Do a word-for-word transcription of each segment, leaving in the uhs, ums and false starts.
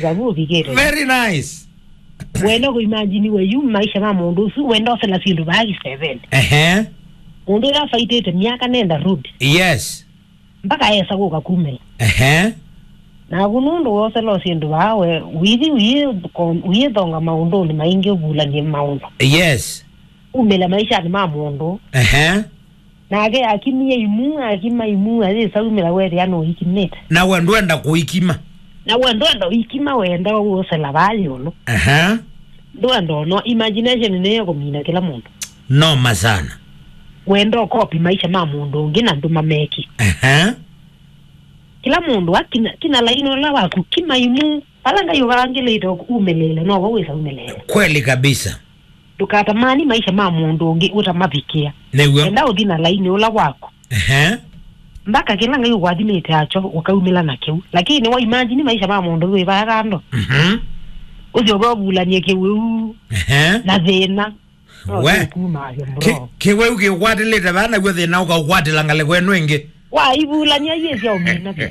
Vavu ũvikĩte. Very nice. Wenda kũimagine we yu maisha ma mũndũ ũsu, wenda ũsela syĩndũ vaa kĩsevenĩ. Ehe. Mũndũ ũla afaitĩte myaka nenda road. Yes. Mpaka esa kũka kumĩla. Ehe. Naku nũndũ wosela syĩndũ vaa we, withi ũyĩ-, ko-, ũyĩthonga maũndũnĩ maingĩ ũvulany'e maũndũ. Yes. Umĩle maishanĩ ma mũndũ. Ehe. Nake akimie imu, akima imu, ayĩsa umĩla wethĩa nũikimĩte. Na we ndwenda kũikima. Na we ndwenda ũikima, wenda ũsela vaa ĩũlũ. Aha. Ndwenda ũno, imagination nĩyo kũmina kĩla mũndũ. Noma sana. Wenda ũkopi maisha ma mũndũ ũngĩ na ndũmameki. Aha. Kĩla mũndũ akina, kina laini ũla waku, kima imu, vala Ngai ũvangĩlĩte umĩlĩle, novo wĩsa umĩlĩle. Kweli kabisa. Ndũkatamani maisha ma mũndũ ũngĩ ũtamavikĩa. Nĩw'o. Enda ũthi na laini ũla waku. Ehe. Mpaka kĩla Ngai ũkwathimĩte akyo ũkaumĩla na kĩu. Lakini wa imagine maisha ma mũndũ wĩ vaya kando. Mhm. Ũthi ũvovulanie kĩwĩu. Ehe. Na thĩna. No, we. Kuma, bro. Ki-, kĩwĩu kĩkwatĩlĩte vaa naw'o thĩna ũkaũkwatĩla ngalĩko ĩno ĩngĩ. Waivulany'a yĩsya ũmina vyũ.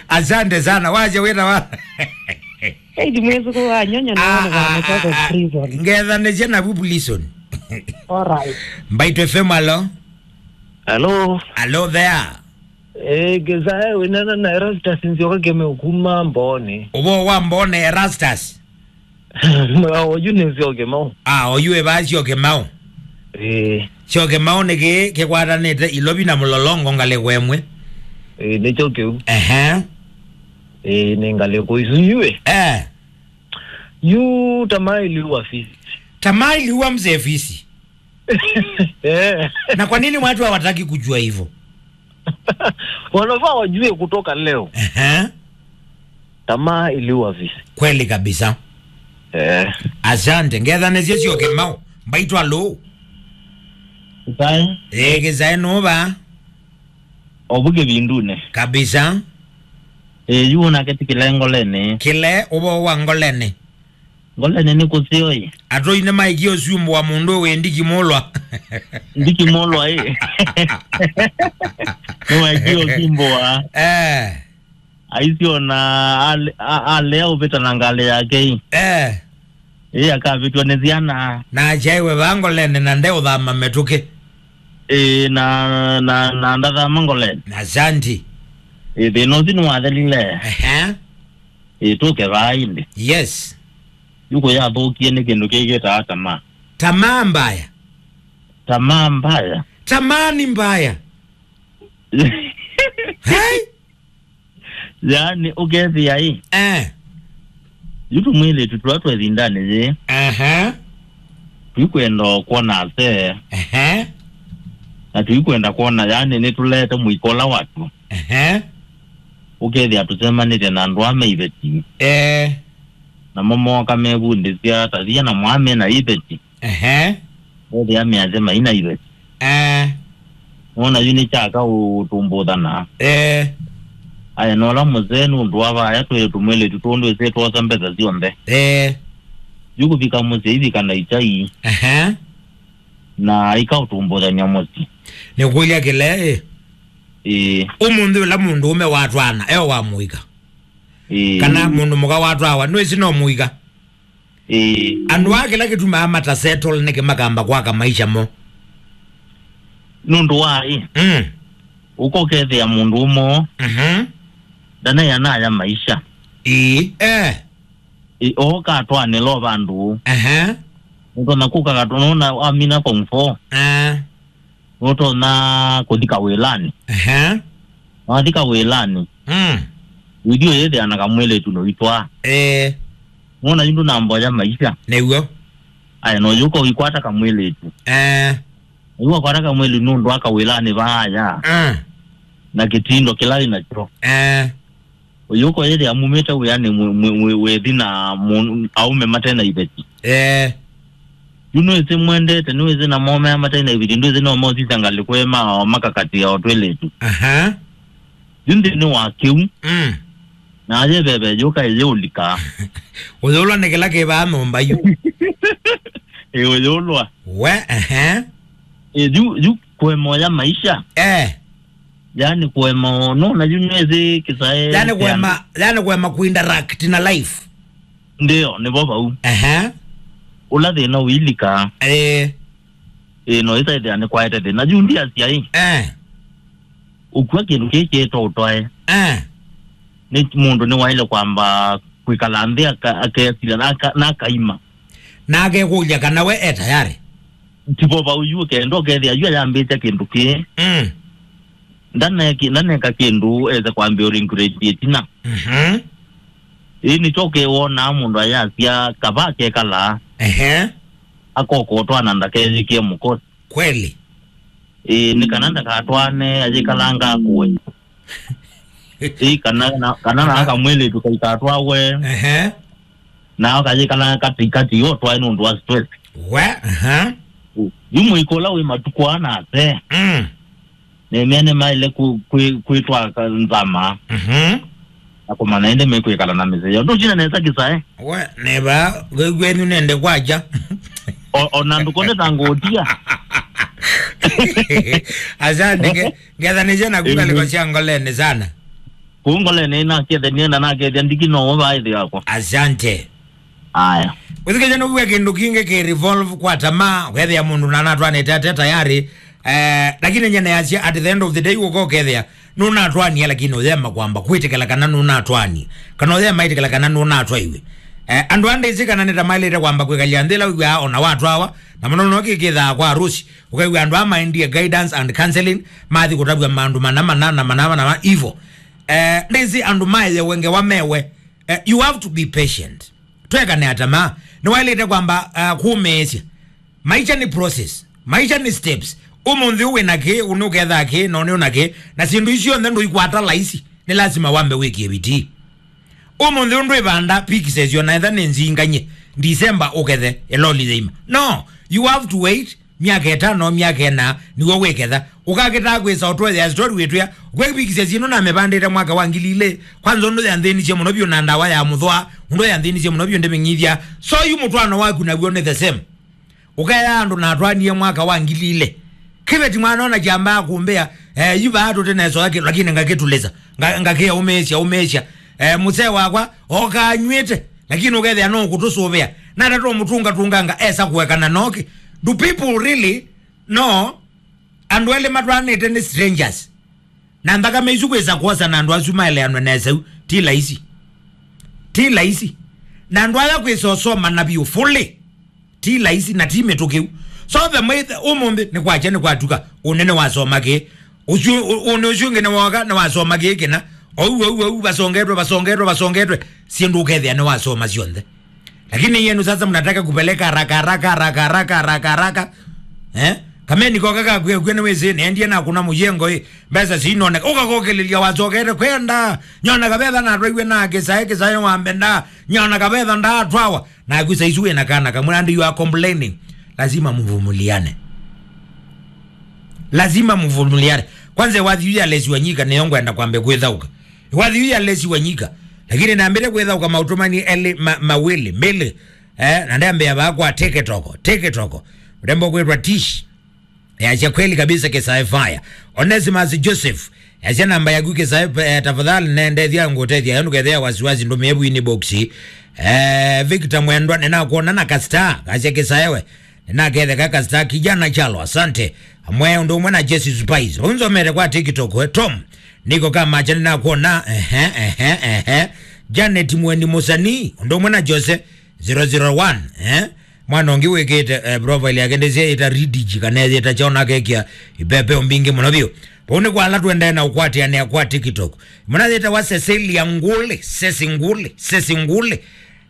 Asante sana. Wacha wĩna wa. Hey, ndi mwĩsũkũ wa nyonyo na ah, wana ah, wana ah, ah. Prison. Ngethanĩsya navu prison. All right. Mbaitũ F M, alo. Hello. Hello there. Eh, Gezae, winana na Erastus Nzioka Keme ukuma Mboni. Ũvoo wa Mboni, Erastus. Oyu nĩ Nzioke Mau. Ah, oyu eva Nzioke Mau. Eh. Nzioke Mau nĩ kĩ kĩkwatanĩte Ilovi na Mũlolongo ngalĩko ĩmwe. Eh, nĩkyo kĩu. Ehe. Eh, nĩ ngalĩko isu iwe. Eh. Yu tamaa iliua fisi. Tamaa iliua mzee fisi. Eh. Na kwa nini watu hawataki kujua hivyo? Wanafaa wajue kutoka leo. Ehe. Tamaa iliua fisi. Kweli kabisa. Eh. Asante. Ngethanĩsye Nzioke Mau. Mbaitũ, alo. Kĩsae. Eh, Kĩsae nũva. Ovu kĩvindunĩ. Kabisa. Eh, yu nake ti kĩle ngoleni. Kĩle ũvoo wa ngoleni. Ngoleni nĩ kũseo ĩ. Atũi nĩmaĩkie ũsumbũa mũndũ wĩ ndikimũlwa. Ndikimũlwa ĩ. Nĩwaĩkie ũsumbũa. Eh. Aisiona ale-, a-, alea ũvĩta na ngalĩ yake ĩ. Eh. Ĩ akavĩtw'a nĩ syana. Na akyaiwe vaa ngoleni na nde ũthama mĩtũkĩ. Ĩ na, na, na ndathama ngoleni. Asante. Ĩ thĩna ũsu nĩwathelile. Ehe. Ĩ tũke vaa ĩndĩ. Yes. Yu kũyathũkie nĩ kĩndũ kĩĩ kĩtaa tamaa. Tamaa mbaya. Tamaa mbaya. Tamaa ni mbaya. Hey! Yaani, ũkethĩa ĩ. Eh. Yu tũmwĩlĩtu tũla twĩ ĩvindanĩ yĩĩ. Aha. Tũikwenda o kwona ase. Ehe. Na tũikwenda kwona, yaani, nĩtũleete mũiko ũla watu. Ehe. Ũkethĩa tũsemanĩte na andũ aa me iveti. Eh. Namo mooka mevundĩsya ta thia na mwaa me na iveti. Ehe. Ethĩa measya maina iveti. Eh. Nona yu nĩ kyaka ũtũmbũthana. Eh. Aya nola mũsee nũndũ wa vaya twĩ tũmwĩlĩtu tũndũ ĩsĩ twosa mbesa syonthe. Eh. Yu kũvika mũsyĩ ivika na ichai. Ehe. Na ikaũtũmbũthany'a mũsyĩ. Nĩkũlya kĩle ĩ. Ĩĩ. Ũmũnthĩ ũla mũndũũme watwaana eo wa mũika. Ĩĩ. Kana mũndũ mũka watwawa, nũĩsĩ no mũika. Ĩĩ. Andũ aa kĩla kĩtumaa mata settle nĩkĩ makamba kwaka maisha mo. Nũndũ wa ĩ. Mm. Ũkokethĩa mũndũ ũmo. Mhm. Ndanaĩ anaya maisha. Ĩĩ. Eh. Ĩ, ooka atwanĩla o vandũ. Ehe. Nũtonya kũka katũ, nũna amina form four. Eh. Nũtonya kũthi kawĩlanĩ. Ehe. Wathi kawĩlanĩ. Mm. Wĩthi ũyĩthĩa na kamwĩlĩtu noitwaa. Eh. Nũna yu ndũnamboya maisha. Nĩw'o. Aya, no yũka ũikwata kamwĩlĩtu. Eh. Yu wakwata kamwĩlĩtu nũndũ wa kawĩlanĩ vaaya. Eh. Na kĩtindo kĩla wĩ nakyo. Eh. Ũyũka ũyĩthĩa mumĩte wĩanĩ mwĩ-, mwĩ-, mwĩ-, wĩthi na mũ-, aũme mate na iveti. Eh. Yu nĩwĩsĩ mwendete, nĩwĩsĩ na momea mate na iveti, ndwĩsĩ no mosisya ngalĩko ĩ ma-, makakatĩa o twĩlĩtu. Aha. Yu nthĩnĩ wa kĩu. Mm. Na ayeveve yũka ĩyĩũlika. Ũyũlwa nĩ kĩla kĩvaa nyũmba yu. Ĩ ũyũlwa. We, ehe. Ĩ yu, yu kwemoya maisha. Eh. Yani kũema, no, na yu nĩwĩsĩ kĩsae yani kũema, yani kũema kuinteract na life. Ndio, nĩvo vau. Ehe. Ũla thĩna ũilika. Eh. Ĩ, no ĩsaĩthĩa nĩ kwaete thĩna. Yu ndiasya ĩ. Eh. Ũkua kĩndũ kĩĩ kĩtwa ũtwae. Eh. Nĩ mũndũ nĩwaĩle kwamba kwĩkala nthĩ aka-, akesila na aka-, na akaima. Na akekũlya kana we e tayarĩ. Tivo vau yu ũkenda ũkethĩa yu ayambĩte kĩndũ kĩĩ. Mm. Ndaneki-, ndaneka kĩndũ ese kwambĩa ũringurĩtie ĩtina. Mhm. Ĩĩ nĩkyo ũkewonaa mũndũ ayasya kava akekalaa. Ehe. Akokotwa na ndakeyĩkĩe mũkosi. Kweli. Ĩĩ, nĩ kana ndakatwane ayĩkalanga akũe. Ĩĩ, kana na, kana na akamwĩlĩtu kaikatwawe. Ehe. Na akayĩkalanga katikati yo twae nũndũ wa stress. We, aha. Yu mũiko ũla wĩ matukũ ana ase. Mm. Nĩmene maĩle kwĩ-, kwĩ-, kwĩtwa ka-, nzama. Mhm. Na kũmanya ĩndĩ mekwĩkala na mĩseo. Ndũcina nesa kĩsae. We, neva, kwenyu nende kwaja. O, o na ndũkone ta ngũtia. Asante, nge-, ngethanĩsya naku ngalĩko sya ngoleni sana. Kũu ngoleni nakethenie na nakethia ndiki no ũvaĩthĩ wakwa. Asante. Aya. Wĩthukĩsya nũvue kĩndũ kingĩ kĩ revolve kwa tamaa, wethĩa mũndũ na natwanĩte ate tayarĩ. Eh, lakini nyene yasya, at the end of the day, ũka ũkethĩa nũnatwanie, lakini ũyema kwamba kwĩtĩkĩla kana nũnatwanie, kana ũyema ĩtĩkĩla kana nũnatwaiwe. Eh, andũ andĩsĩ kana nĩtamaĩlĩte kwamba kwĩkalya nthĩ ĩla wĩw'aa ona watwawa, na mũno mũno kĩkĩthaa kwa arusi, ũkaigua andũ aa maendie guidance and counseling, mathi kũtavw'a maũndũ mana mana na mana mana ivo. Eh, ndĩsĩ andũ maeyewe ngewa mewe. Eh, you have to be patient. Twekane atama, nĩwaĩlĩte kwamba, uh, kũmĩĩsya. Maisha nĩ process. Maisha nĩ steps. Ũmũnthĩ ũwĩ na kĩ, ũnĩ ũkethaa kĩ, na ũnĩ ũna kĩ. Na syĩndũ isu syonthe ndũikwata laisi. Nĩ lasima wambe wĩkie vitii. Ũmũnthĩ ũndũ ĩvanda pixes ona etha nĩ nzingany'e. December ũkethe, eloli yĩima. No, you have to wait. Myaka ĩtano, myaka ĩna, nĩw'o wĩketha. Ũkakĩtaa kwĩsa ũtwethea story wĩtwĩa, ũkwĩvikisya syĩndũ namĩvandĩte mwaka wa ngili ilĩ. Kwanza ũndũ yanthĩnisye mũno vyũ na ndawa ya mũthwa, ũndũ yanthĩnisye mũno vyũ ndĩmĩng'ithya. So yu mũtwaano waku naw'o nĩ the same. Ũkeya andũ natwanie mwaka wa ngili ilĩ. Kĩveti mwana ona kyambaa kũmbĩa, eh, yu vaa tũte nesoa kĩ, lakini ngakĩtulĩsa. Nga-, ngakĩa ũmĩĩsya, ũmĩĩsya. Eh, mũsee wakwa, oka anyw'ĩte. Lakini ũkethĩa no kũtũsũvĩa. Nata tũmũtungatunganga esa kũekana noki. Do people really know andũ elĩ matwaanĩte nĩ strangers? Na nthakame isu kwĩsa kwosa na andũ asu maeleanwe nesa yu, ti laisi. Ti laisi. Na andũ aya kwĩsa ũsoma na vyũ fully. Ti laisi na ti mĩtũkĩu. So the way the, ũmũnthĩ nĩ kwakya nĩ kwatuka, ũnene wasoma kĩ? Ũsu, ũ-, ũnĩ ũsu ũngĩ nĩwoka, nĩwasoma kĩĩ kĩna. Ou, ou, ou, vasongetwe, vasongetwe, vasongetwe. Syĩndũ ũkethĩa nĩwasoma syonthe. Lakini yenu sasa mnataka kupeleka haraka, haraka, haraka, haraka, haraka, haraka. Eh? Kameni koka kakwĩa kwĩa nĩwĩsĩ, nendie na kuna mũyengo ĩ. Mbesa sinoneka. Ũkakokelelya wasokete kwenda. Nyona kavetha natwaiwe na kĩsae, kĩsae wambenda. Nyona kavetha ndatwawa. Naku saizi wĩ na kana kamwe, and you are complaining. Lazima mvumiliane. Lazima mvumiliane. Kwanza wathi yu ya Lesi Wanyika nĩyo ngwenda kwambe kwĩthaũka. Wathi yu ya Lesi Wanyika. Lakini nambĩte kwĩthaũka maũtũmani elĩ ma, mawĩlĩ, mbĩlĩ. Eh, na ndambĩa vaa kwa TikTok, TikTok. Mrembo kwĩtwa Tish. Yasya kweli kabisa Kĩsae fire. Onesimus Joseph. Yasya namba yaku Kĩsae, eh, tafadhali nendethya ngũtethya. Yo ndũkethĩa wasiwasi ndũmĩe vu inbox. Eh, Victor Mwendwa, nĩnakwona na kastar. Kasya Kĩsae we. Nĩnaketheka kastar kijana chalo. Asante. Amwe ũndũ ũmwe na Jesse Spice. Vau nzomete kwa TikTok, eh, Tom. Niko kama acha nĩnakwona. Ehe, ehe, ehe. Janet Mweni Musani. Ũndũ ũmwe na Jose. Zero zero one, eh? Mwana ũngĩ wĩkĩte, eh, profile yake ndĩsĩ yĩta Ridge kana yĩta kyaona kekĩa ipepeo mbingĩ mũno vyũ. Vau nĩ kwa ala tũendee na ũkwatĩanĩa kwa TikTok. Mwana yĩtawa Cecilia Nguli, Ceci Nguli, Ceci Nguli.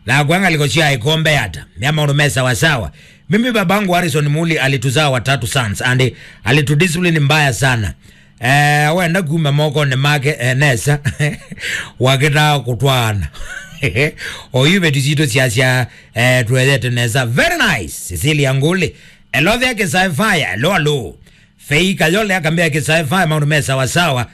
Na kwa ngaliko sya ikombe ata. Mya maũndũ me sawa sawa. Mimi babangu Harrison Muli alituzaa watatu sons and alitudiscipline mbaya sana. Eh, wenda kuma mokonĩ make, eh, nesa. Wakĩtaa kũtwaana. Oyu vetu sitũ syasya, eh, twethete nesa. Very nice. Cecilia Nguli. Hello there, Kĩsae fire. Hello, hello. Fei Kayole akambĩa Kĩsae fire, maũndũ me sawa sawa.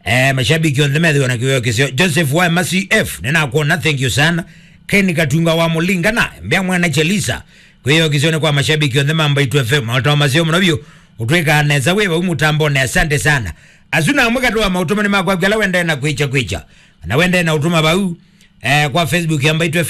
Eh, mashabiki onthe methĩwa na kĩweo kĩseo. Joseph wa M C F, nĩnakuona, thank you sana. Ken Katunga wa Mũlinga na mbĩa mwana Chelisa. Kwĩyo kĩseo nĩ kwa mashabiki onthe ma Mbaitu F M. Maũndũ maseo mũno vyũ. Ũtwĩkaa nesa wĩ vau mũtambonĩ, asante sana. Asu na amwe katũ wa maũtũmani makwaku ala wendee na kwĩkya kwĩkya. Kana wendee na ũtũma vau, eh, kwa Facebook ya Mbaitũ F M.